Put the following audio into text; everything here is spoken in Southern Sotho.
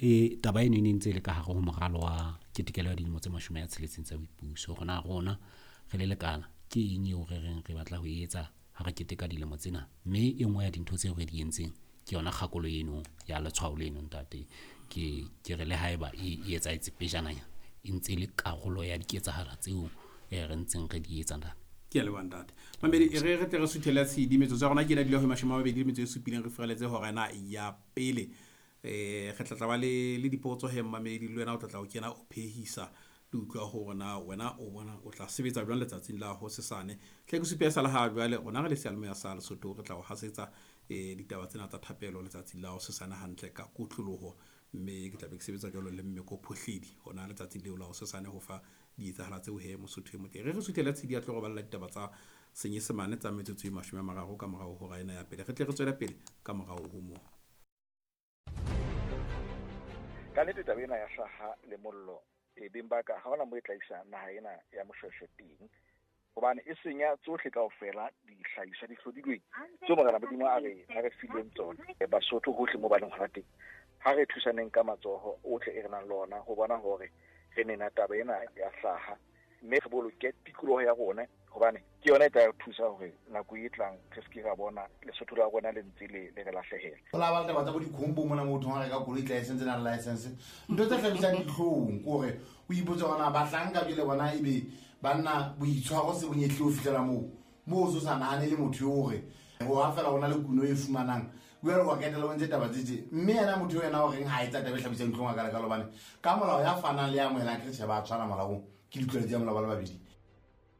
E taba eno e ne ntse e le ka hare ho moralo wa ketekelo ya dilemo tse 60 tsa boipuso. Rona rona re le lekala ke eng eo re reng re batla ho e etsa ha re keteka dilemo tsena, mme e nngwe ya dintho tseo re di entseng ke yona kgakolo eno ya letshwao leno ntate. Ke re le haeba e etsahetse pejananya, e ntse e le karolo ya diketsahalo tseo re ntseng re di etsa ntate. Ke a leboha ntate. Mamedi, re tle re suthele tshedi metsotso ya rona ke ena dula ho 27 re furaletse hora ena ya pele. Re tla tla ba le dipotso he mmamedi, le wena o tla tla o kena o phehisa le utlwa hore na wena o bona o tla sebetsa jwang letsatsing la hosesane. Hle ke supe sa le ha jwale rona re le seyalemoya sa Lesotho re tla o hasetsa ditaba tsena tsa thapelo letsatsing la hosesane hantle ka kotloloho, mme ke tla be ke sebetsa jwalo le Mmeko Phohledi hona letsatsing leo la hosesane ho fa dietsahala tseo he Mosotho e motle. Re suthele tshedi ya tlo re balla ditaba tsa Senyesemane tsa metsotso e 30 ka morao hora ena ya pele. Re tle re tswele pele ka morao ho moo. Ka nnete taba ena ya hlaha le mollo e beng ba ka ha hona mo e tla isa naha ena ya Moshweshwe teng, hobane e senya tsohle kaofela dihlahiswa di hlodilweng tseo Morena Modimo a re fileng tsona. Basotho hohle mo ba leng hona teng, ha re thusaneng ka matsoho ohle e re nang le ona ho bona hore re nena taba ena ya hlaha, mme re boloke tikoloho ya rona, hobane ke yona e tla re thusa hore nako e tlang re se ke ra bona Lesotho la rona le ntse le re lahlehela. Ho la ba taba tsa bo dikhombo mona motho ha reka koloi license na license, ntho tse hlabisang dihlong ke hore o ipotse hore na bahlanka jwale bona ebe banna boitshwaro se bonyehle ho fihlela moo moo o so sa nahane le motho eo hore ho ha fela ho na le kuno e fumanang jwale wa ketela o ntse taba tse tje, mme yena motho eo yena o reng ha etsa taba e hlabisang dihlong a ka lekalo, hobane ka molao ya fanang le ya amohelang ke re tjhe ba tshwana molaong, ke ditlwaelo tsa molao ba le babedi.